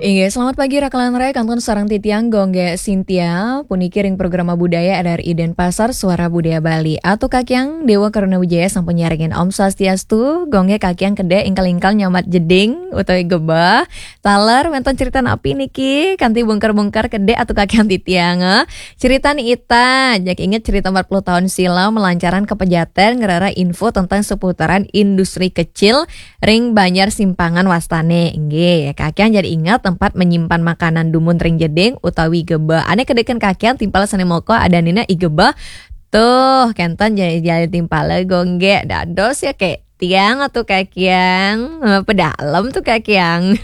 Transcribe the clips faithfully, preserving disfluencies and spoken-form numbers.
Inggih, selamat pagi Rakalan Rai, kantun sareng titiang Gung Gek Sintia, puniki ring Programa Budaya R R I Denpasar, Suara Budaya Bali. Atu Kakiang, Dewa Karuna Wijaya sampun nyarengin Om Swastiastu, Gung Gek Kakiang kedek ingkal-ingkal nyambat jeding utawi gebeh. Taler wenten cerita napi niki, kanti bungker-bungker kedek Atu Kakiang titiang, eh. Cerita niki, jak inget cerita empat puluh tahun silam melancaran ke Pejaten ngrereh info tentang seputaran industri kecil ring Banjar Simpangan wastane. Inggih, Kakiang jadi inget tempat menyimpan makanan dumun ring jeding utawi gebeh. Ane kedeken Kakiang timpal sane moko adanina i gebeh. Tuh, kenten jadi, jadi timpal Gung Gek. Dados ya kek tiang atu Kakiang. Eh, pedalem tuh Kakiang.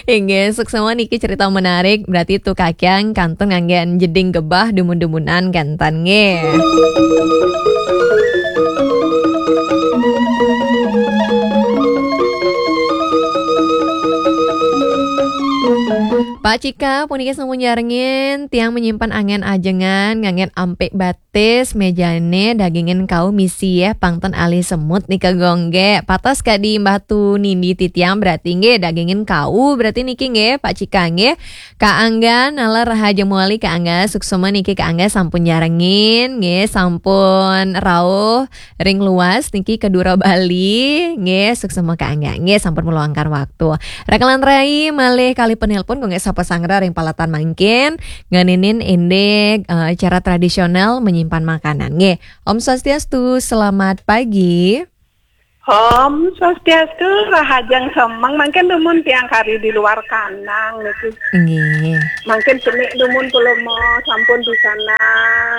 Inggih, suksma niki cerita menarik. Berarti tuh Kakiang kantun ngangge jeding gebeh dumun-dumunan kenten nggih. Pak Cika, puniki sampun nyarengin, tiang menyimpan angen ajengan, ngangen ampik batis, mejane dagingin kau misi yeh, pangten alih semut nika Gung Gek. Patas kadi Mbah Tu Nindi titiang berarti nggih, dagingin kau berarti niki nggih, Pak Cika nggih. Kak Angga, naler rahaja mawali Kak Angga, suksma niki Kak Angga sampun nyarengin, nggih, sampun rauh ring luas niki ke Dura Bali, nggih, suksma Kak Angga, nggih, sampun meluangkan waktu. Rakalan Rai malih kalih penelpon, nggih, sapa sanggra ring paletan mangkin, ngeninin indik, eh, cara tradisional menyimpan makanan, nggih. Om Swastiastu, selamat pagi. Om Swastiastu, rahajeng semeng, mangkin dumun tiang kari di luar kandang niki. Nggih. Mangkin cenik dumun pulo mo sampun di sana.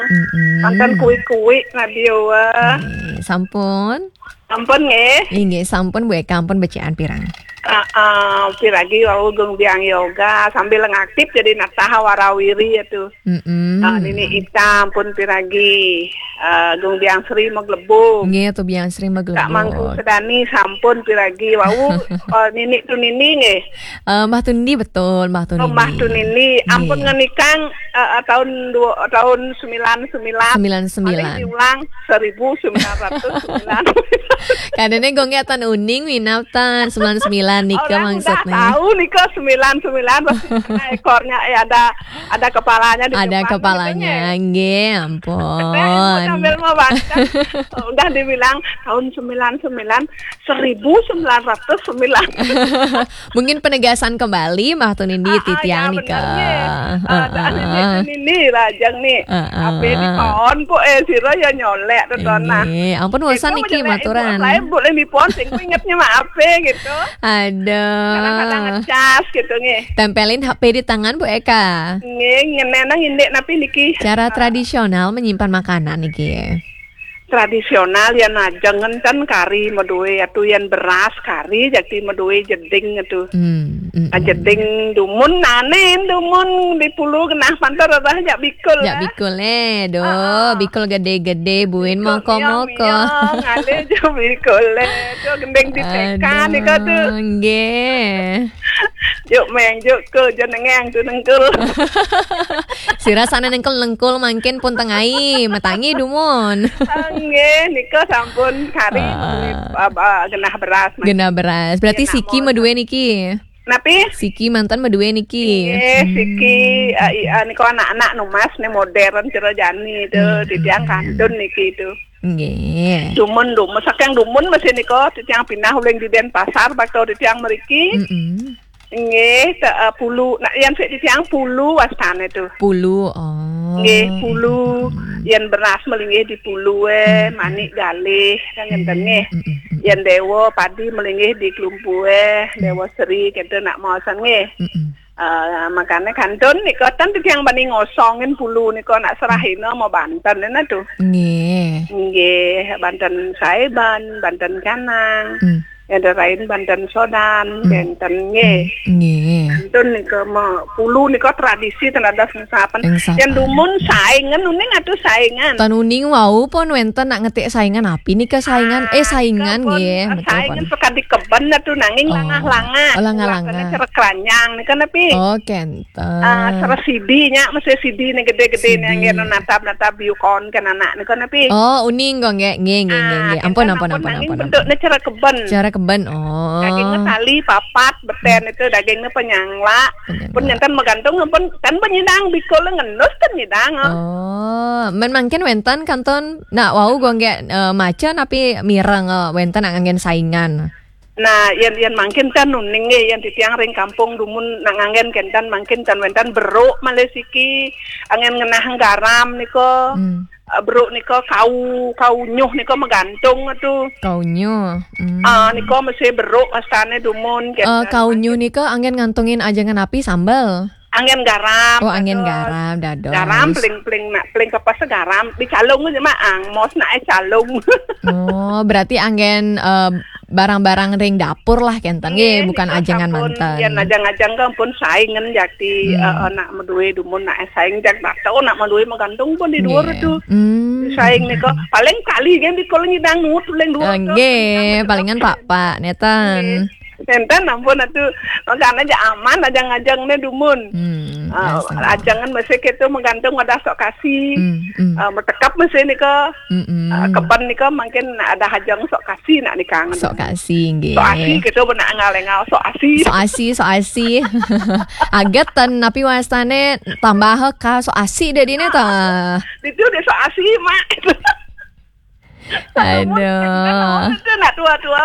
Mm-mm. Mangkin kuik-kuik radio, eh. Nggih, sampun. Sampun nggih. Inggih, sampun Bu Eka, ampun becik pirang. Ah, ah, piragi wau Gung Biang Yoga sambil ngaktif jadi nataha warawiri ya tuh. Mm-mm. Ah, Nini Ita ampun piragi. Ah, Gung Biang Sri Maglebung. Nggih, Tu Biang Sri Maglebung. Kak Mangku Sedani sampun piragi. Wau, eh, Nini Tu Nini nggih. Eh, Mbah Tundi betul, Mbah Tundi. Oh, Mbah Tundi. Ampun nggih. Ngenikang, eh, eh, tahun dua, tahun sembilan sembilan. Sembilan sembilan. Malih diulang seribu sembilan ratus sembilan. Kadene Gung Gek tan uning minab tan sembilan sembilan nika. Orang maksudnya. Udah tahu nika sembilan sembilan, pasti ada ekornya, eh, ada, ada kepalanya di depan. Ada kepalanya, gitu, nggih. Nggih, ampun. Sambil mau baca. Udah dibilang tahun sembilan sembilan, seribu sembilan ratus sembilan. Mungkin penegasan kembali, Mbah Tundi. Ah, ah, titiang ya, nika. Bener, nggih. Ah, ah, ah. Ini, ini rajang nih. Ah, ah. Ape di pohon kok, eh, sira ya nyolek, tetonah. Nggih, ampun, wasan niki maturan. Lain boleh di pohon, sing ingetnya mah ape gitu. Aduh. Kadang-kadang ngecas gitu, nggih. Tempelin H P di tangan, Bu Eka. Nggih, ngenenang indik napi niki. Cara tradisional menyimpan makanan niki. Tradisional ya najeng enten kari maduwe atu, yen beras kari, jati maduwe jeding atu. Hmm, mm, ah, mm. Jeding dumun nane, dumun di pulu genah pantar, rereh jak bikul. Jak lah. Bikul, eh, do. Ah, ah. Bikul gede-gede, buin moko-moko. Bikul miong-miong, ale jak bikul, eh. Tu gending di tekan, aduh, nika tu. Nggih. Juk meng, juk ke, juk nengeng tu nengkul. Sira sane nengkul-nengkul mangkin pun tengai, matangi dumun. Ah, nggih, nika sampun kari, ah, maduwe, ah, ah, genah beras, mangkin. Genah beras. Berarti genah siki maduwe niki? Napi? Siki manten maduwe niki. Nggih, hmm. Siki, eh, i-, eh, nika anak-anak numas nih modern cara jani tu, hmm, titiang, hmm, kantun niki tu. Nggih. Dumun, dumun, saking dumun masih nika, titiang pindah uling di Denpasar, bakal titiang mriki. Mm-mm. Nggih, te-, eh, pulu. Nak, yen sik titiang pulu wastane tu. Pulu, oh. Nggih, pulu. Mm-mm. Yen beras malinggih di pulu, eh, mm-mm, manik galih, kan ngenten nggih. Mm-mm, mm-mm. Yen dewa padi malinggih di klumpu, eh, mm, dewa seri, kenten nak maosan nggih. Mm-mm. Eh, makane kantun nika ten titiang bani ngosongin pulu nika nak serahina mau banten ena tu. Nggih. Nggih, banten saeban, banten canang. Hmm. Yang lain banten sodan, hmm, kenten nggih. Hmm, nggih. Tun nika ma pulu nika tradisi ten dados ngesapen. Ngesapen. Yen dumun saingan uning atuh saingan. Ten uning wau pun wenten nak ngetik saingan api nika saingan. Eh, saingan nggih, betul saingan pun. Sekadi keben atuh nanging langah-langah. Oh, langah-langah. Ulahane cerek keranjang nika napi? Oh, kenten. Ah, cerek sidi nya, mesti sidi ne gede-gede ne, sidi. Ngen natap-natap biukon kan anak nika napi? Oh, uning kok nggih, nggih, nggih, nggih, nggih. Ah, ampun, kenten ampun, ampun, ampun, ampun, nanging bentuk ne cerek keben. Cerek keben, oh. Dagingnya tali, papat, beten itu dagingnya penyangla. Penyangla. Pun nenten magantung pun kan penyidang bikul ngenus kan nyidang, oh. Oh, men mangkin wenten kantun nak wau gonggek, eh, maca napi mireng, eh, wenten nak nganggen saingan. Nah, yen, yen mangkin kan uning nggih, yen titiang ring kampung dumun nak nganggen kenten mangkin kan wenten beruk malih siki, anggen ngenah garam nika. Hmm. Eh, beruk nika kau, kau nyuh nika magantung atuh. Kau nyuh. Hmm. Ah, nika mesti beruk wastane dumun, eh, kenten. Kau nyuh nika anggen ngantungin aja ngenapi sambel. Anggen garam. Oh, anggen dados. Garam, dados. Garam, peling, peling, nak, peling kepes garam. Di calung aja, Mak. Angmos nak, eh, calung. Oh, berarti anggen, eh, barang-barang ring dapur lah, kenten. Nggih, nggih, bukan nika ajengan sampun, manten. Yen ajang-ajang kan pun saingan jati, hmm, eh, eh, nak madue dumun, nak, eh, saing jak bakso, nak madue magantung pun di duur itu. Hmm. Saing nika. Paling kali kan di kalau nyidang nut, paling duur. Eh, nggih, palingan pak-pak, neten. Nggih. Enten ampun atuh, makanya aja aman, ajang-ajang ne dumun. Hmm, ah, biasa. Ajangan masih kita menggantung wadah sok kasih. Hmm, hmm. Ah, metekap masih nika. Hmm, hmm. Ah, keben nika mungkin ada ajang sok kasih nak nikang. Sok kasih, nggih. Sok asih kita benak ngal-ngal sok asih. Sok asih, sok asih. Aget ten, napi wastane tambah ka sok asih deh dine ta. Itu deh sok asih, Mak. Aduh. Itu nak tua-tua.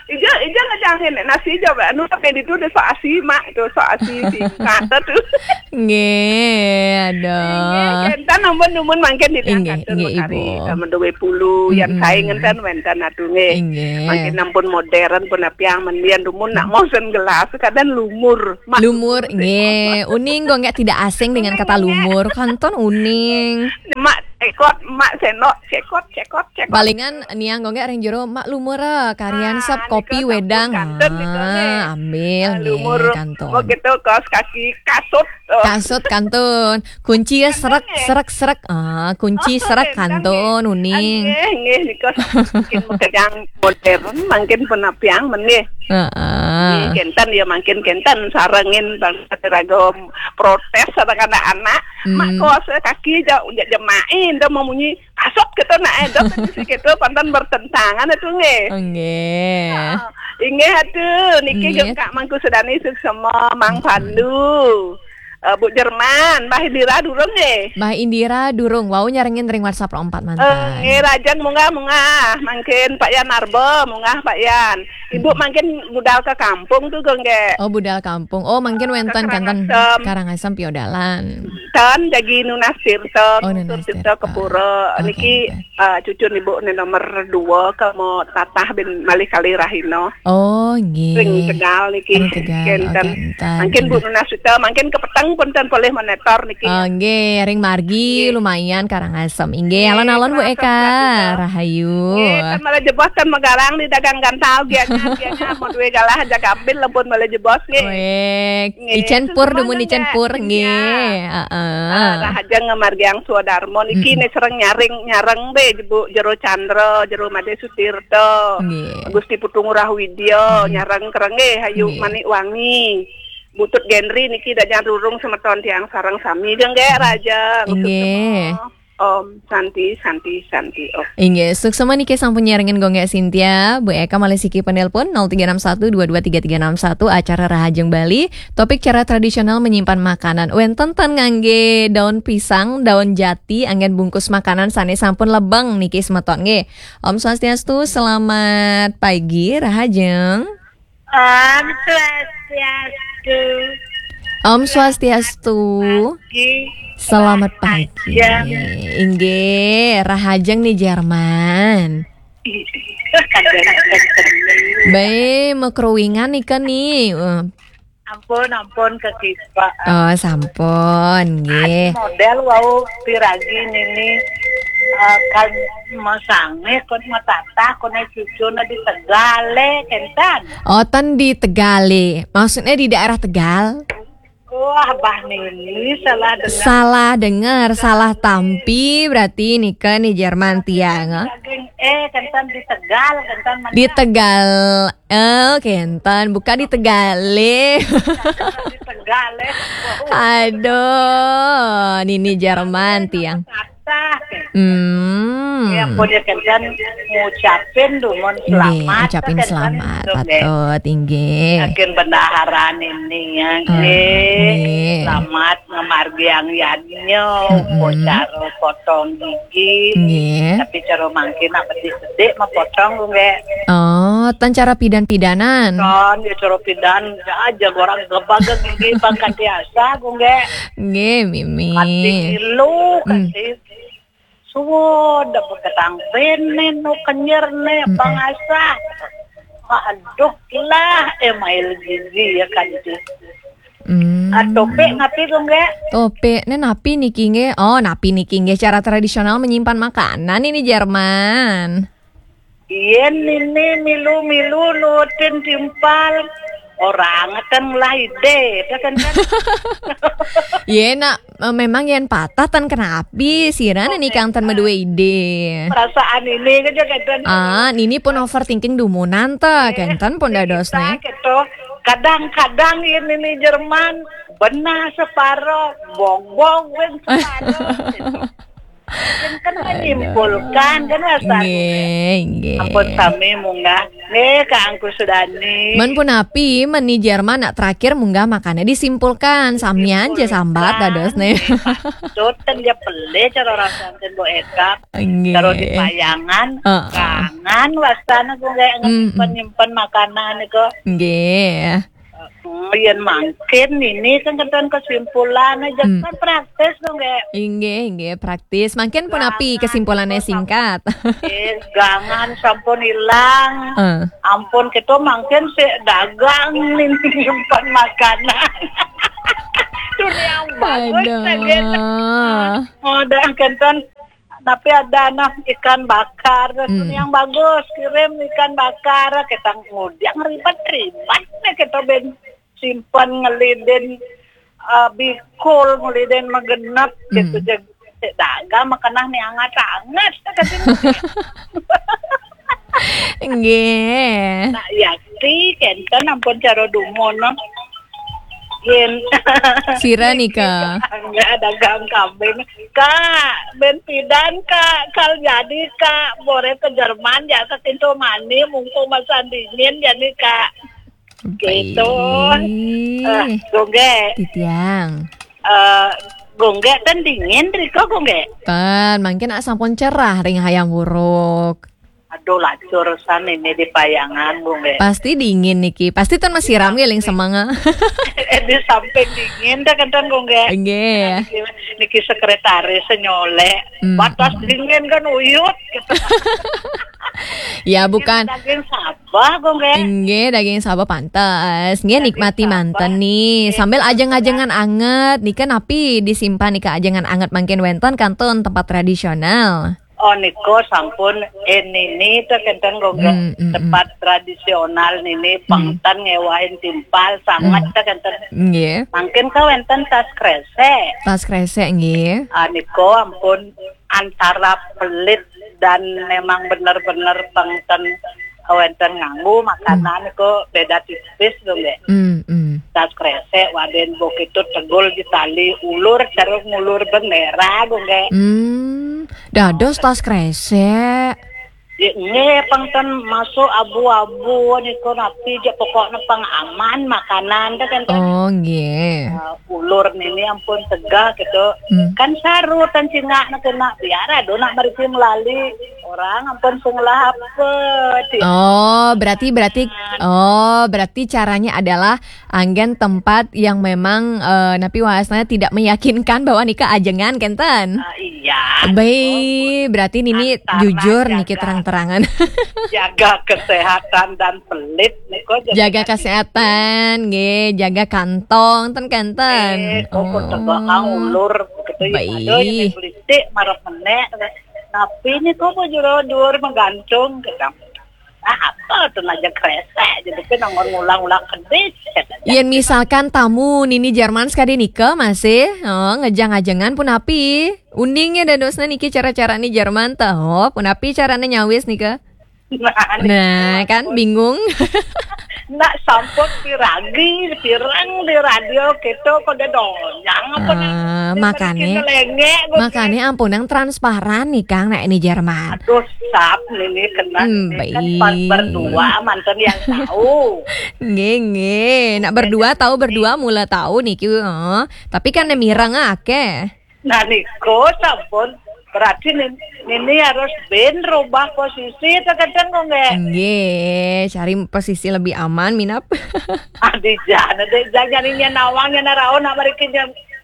Ija, ija ngejangin nasi ija, anu, tapi itu deh sok asih, Mak. Itu sok asih singkat tuh. Nggih, aduh. Nggih, enten ampun dumun mangkin di. Inggih, inggih, Ibu. Eh, menduwe pulu, yang saingan kan wenten atuh, nggih. Inggih. Mangkin ampun modern pun apiang mendian dumun nak mosen gelas, kadang lumur. Mak, lumur, lumur, nggih. Uning kok nggak tidak asing dengan kata lumur. Kanton uning. Mak, cekot, Mak, senok, cekot, cekot, cekot. Palingan niang gonggek ring jero, Mak, lumur, ah, karian sep kopi wedang. Nika sampun kanten nika, nggih. Ah, ambil, ah, nggih, lumur, kanton. Mau gitu, kaos kaki, kasut, eh. Kasut, kanton. Kunci ya, serak, serak, serak. Ah, kunci serak, kanton, uning. Nggih, nggih, nika mungkin makejang modern, mungkin penapiang, men, nggih. Heeh. Nggih, kenten ya, mungkin kenten sarengin bangsa ragam protes sareng anak-anak. Hmm. Mak kaos kaki ja, ja, jemai, dah memunyi kasut kita nak, eh, dah kondisi kita pantan bertentangan itu, nggih. Oh, nggih. Ah, inggih atuh, niki nggih. Jeung Kak Mangku Sedani suksema, Mang Pandu. Eh, Bu Jerman, Mbah Indira durung nggih? Mbah Indira durung, wau nyarengin ring WhatsApp empat mantan. Eh, nggih, rahajeng munggah, munggah. Mangkin Pak Yan Arba, munggah Pak Yan. Ibu mangkin budal ke kampung tuh, nggih. Oh, budal kampung. Oh, mangkin wenten kanten Karangasem. Karangasem piodalan. Tan jagi nunas tirta, oh, nunas tirta ke pura. Oke, niki, oke. Ah, cucun ibu ni nomor dua ke mau tatah bin malih kali rahina. Oh, nggih. Ring Tegal niki. Ring Tegal, kenten. Oh, kenten. Mangkin Bu Nunasita, mangkin kepeteng pun ten polih monitor niki. Oh, nggih, ring margi nggih. Lumayan Karangasem. Inggih, nggih, alon-alon Bu Eka. Rahayu. Nggih, ten malah jebos ten megarang di dagang gantal, gianya, gianya, mau duwe galah aja gambil, lempun malah jebos, nggih. Wek. Nggih, icen pur, dumun icen pur, nggih. Heeh. Ah, rahajeng ngamargiang swadarma niki ne sareng nyaring, nyareng be, Bu, Jero Chandra, Jero Made Sutirta, nggih. Gusti Putu Ngurah Widya, nyareng kereng nggih, Hayu Manik Wangi. Butut Gendri niki dajan rurung semeton tiang sareng sami, nggih, rahajeng. Nggih. Om Santi, Santi, Santi, Om. Inggih, suksema niki sampun nyarengin gonggek Cynthia, Bu Eka malih siki penelpon nol tiga enam satu dua dua tiga tiga enam satu, acara Rahajeng Bali, topik cara tradisional menyimpan makanan. Wenten ten ngangge daun pisang, daun jati, anggen bungkus makanan sane sampun lebeng niki semeton nggih. Om Swastiastu, selamat pagi, Rahajeng. Om Swastiastu. Om Swastiastu. Pagi. Selamat pagi. Rahajeng. Inggih, rahajeng ni Jerman. Bae, makruingan nika ni. Eh. Ampun, ampun, Kak Kispa. Oh, sampun, nggih. Adi model wau piragi nini, eh, kan masange, kon matatah, kon cucuna di Tegale, kenten. Oh, ten di Tegale. Maksudnya di daerah Tegal? Wah, bah Nini salah dengar. Salah dengar, salah tampi berarti nika ni Jerman tiang, ah. Daging, eh, kentan di Tegal, kentan mana? Di Tegal. Eh, kentan, bukan di Tegal, eh. Di Tegal, eh. Aduh, Nini Jerman tiang. Sah. Hmm. Ya, pun ya, kentan ngucapin dumun. Nggih, selamat, ucapin kan, selamat, kan, patut, inggih. Saking bendahara Nini ya, ah, nggih. Nggih. Selamat ngamargiang yadnya, mm-mm, upacara potong gigi. Nggih. Tapi cara mangkin nak bedik-bedik mah potong, nggih. Oh, tan cara pidan-pidanan. Kan, ya cara pidan, ya aja orang gebaga gigi bang kanti asa, nggih. Nggih, mimi. Kanti ilu, hmm, kanti suwon, dah beketang benen, no kenyer ne, mm-mm, pangasah. Aduh lah, eh, mail gizi ya kan itu. Hmm. Ah, topik napi tu, nggih? Topik ne napi niki, nggih? Oh, napi niki, nggih? Cara tradisional menyimpan makanan ini Jerman. Yen ini milu-milu nutin timpal, orang ten lah ide, dah kan, kan? Ye, nak, eh, memang yen patah tan kenapi, sira niki kang tan medue ide. Perasaan ini kan, kan, kan? Ah, nini pun overthinking dumunan ta, eh, kenten pun dadosne. Kita gitu. Kadang-kadang yen ini Jerman, benah separo, bong-bong wen separo. Kan, kan, aduh, menyimpulkan, kan, rasanya. Nggih, nggih. Ampun sami munggah. Nggih, Kak Angku Sudani. Men punapi, men ni Jerman nak terakhir munggah makane disimpulkan. Samian je sambat dadosne. Nggih, patut kan dia pelih cara rasanya Bu Eka. Nggih. Cara di payangan, heeh, kangen wastane ku nggih, mm-mm, nyimpen-nyimpen makanan niku. Nggih. Hmm, yen mangkin ini kan kenten kesimpulan aja, hmm, kan praktis dong, nggih. Inggih, inggih, praktis. Mangkin punapi kesimpulannya singkat. Eh, gangan sampun ilang. Eh. Ampun, kita mangkin sik dagang nih, nyimpen makanan. Dunia yang bagus, aduh, kan, gitu. Oh, dah kenten tapi ada nah ikan bakar, hmm, yang bagus, kirim ikan bakar, kita ngudiang ribet-ribet nih, kita ben simpen ngelidin, eh, bikul, ngelidin megenep, hmm, gitu, jeg-, cek dagang makanah nih anget-anget, kata dia. Nggih. Nak Yakti, kenten ampun cara dumun, no. Yen. Sira nika. Nggih, dagang kambing. Kak, ben pidan, Kak, kal jadi, Kak, bore ke Jerman, ya, ke Tinto Mani, mumpung masa dingin, jadi, Kak. Gitu. Baik. Eh, Gongge. Titiang. Eh, Gongge, kan dingin, Riko, Gongge? Kan, mungkin sampun cerah, ring hayam wuruk. Aduh, lacur san ini di payangan, Bung, nggih. Pasti dingin niki. Pasti ten masiram nggih ling semanga. Eh, di samping dingin dah kenten, Bung, nggih. Nggih. Niki, niki sekretaris senyolek. Hmm, batas hmm, dingin kan uyut gitu. Ya, bukan. Daging sabah, Bung, nggih. Nggih, daging sabah pantes. Nggih, daging nikmati sabah. Manten nih. Sambil ajeng-ajengan anget. Nika napi disimpan nika ajengan anget mangkin wenten kantun tempat tradisional. Oh, niko sampun, eh, nini teh kenten, Gongge. Hmm, hmm, hmm. Tempat tradisional nini, hmm, pengten ngewahin timpal, sangat, hmm, teh kenten. Nggih. Mungkin ka wenten tas kresek. Tas kresek, nggih. Ah, niko ampun antara pelit dan memang bener-bener pengten wenten nganggu makanan, hmm, kok beda tipis tuh, nggih. Hmm, hmm. Tas kresek, waden bok itu tegul di tali ulur, ceruk ngulur bendera, Gongge. Hmm, dados tas kresek. Ya, nggih, pengten masuk abu-abu, niku napi je pokoknya pang aman makanan, dah kan, kan. Oh, nggih. Eh, ulur nini ampun tegah gitu. Hmm. Kan saru tan cingak nak kena biar aduh nak merisi melali. Orang ampun sing lah apa, Cik? Oh, berarti, berarti, oh, berarti caranya adalah anggen tempat yang memang, eh, napi wahasna tidak meyakinkan bahwa nika ajengan, kenten? Ah, iya. Baik, oh, berarti nini antara jujur niki jaga, terang-terangan. Jaga kesehatan dan pelit niko jaga, jaga kesehatan, nggih, jaga kantong, ten kenten. Eh, kok, oh, tegak ulur gitu ya. Baik. Aduh, ini politik marah menek. Tapi ini kok mau jero dhuwur menggantung gitu. Ah, apa tuh aja kresek jadi kan nang ngulang-ulang kedis. Yén misalkan tamu nini Jerman sekadi nika masih, oh, ngejang-ajengan punapi? Uning ya dadosna niki cara-cara ni Jerman teh. Oh, punapi carane nyawis nika? Nah, kan bingung. Nak sampun piragi, pirang di radio kita kok ada donyang apa Ah, makane, lengek. Makane ampun yang transparan nih Kang, nak ini Jerman. Aduh, sap ini kena Hmm, ini kan baik. Pas berdua mantan yang tahu. Nggih, nggih. Nak berdua tahu berdua mula tahu niki. Heeh. Tapi kan mireng akeh. Nah, niko sampun berarti nin- ini harus ben rubah posisi terkadang kok nggak. Nggih, cari posisi lebih aman minap. Adi jana deh, jangan nyarinya nawang yang naraon nak mereka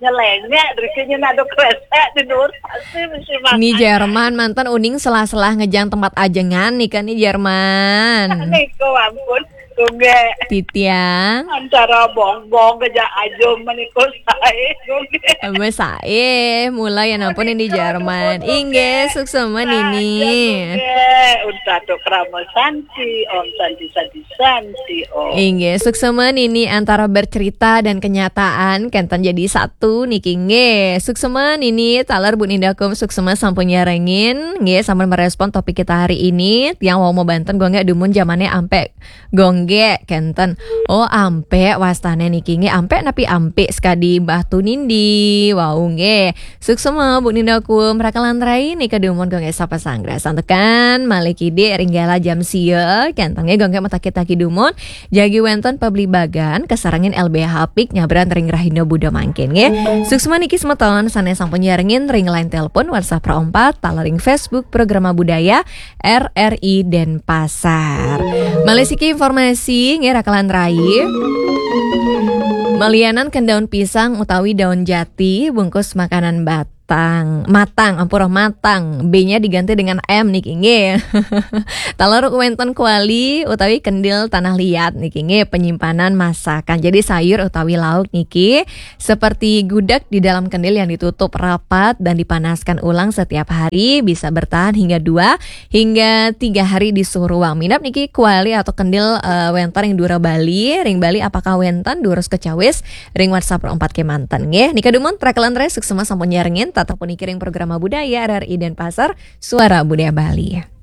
nyelenyek, mereka ada kresek di nur pasti mesti makan. Ni Jerman mantan uning selah-selah ngejang tempat ajengan nih kan ni Jerman. Niko ampun, kok nggak. Titiang. Antara bongbong aja ajo meniko saya, kok nggak. Wes sae, mulai ya nampun ini Jerman. Inggih, suksema nini. Unta tu krama santi, om santi santi santi, om. Inggih, suksema nini antara bercerita dan kenyataan kenten jadi satu niki nggih. Suksema nini taler Bu Ninda Kum suksema sampun nyarengin nggih sampun merespon topik kita hari ini. Tiang wau mau banten gongge dumun jamane ampe gongge kenten. Oh, ampe wastane niki nggih ampe napi ampe sekadi Mbah Tunindi. Wau nggih. Suksema Bu Ninda Kum rakalan rai nika dumun gongge sapa sanggra santukan malih kidik ringgala jam sia kenten nggih gongge matakit-takit dumun. Jagi wenten pabligbagan kasarengin L B H Pik nyabran ring Rahina Buda mangkin nggih. Suksema niki semeton sane sampun nyarengin ring line telepon WhatsApp empat taler ring Facebook Programa Budaya R R I Denpasar. Malih siki informasi nggih rakalan rai. Malianan ken daun pisang utawi daun jati bungkus makanan batang, matang, ampura matang. B-nya diganti dengan M niki nggih. Taler wenten kuali utawi kendil tanah liat niki nggih penyimpanan masakan. Jadi sayur utawi lauk niki seperti gudeg di dalam kendil yang ditutup rapat dan dipanaskan ulang setiap hari bisa bertahan hingga dua hingga tiga hari di suhu ruang. Minap niki kuali atau kendil eh, wenten ring dura Bali, ring Bali apakah wenten durus kecawis ring WhatsApp empat kemanten nggih. Nika dumun rakalan rai suksema sampun nyarengin tatap puniki ring Programa Budaya R R I Denpasar, Suara Budaya Bali.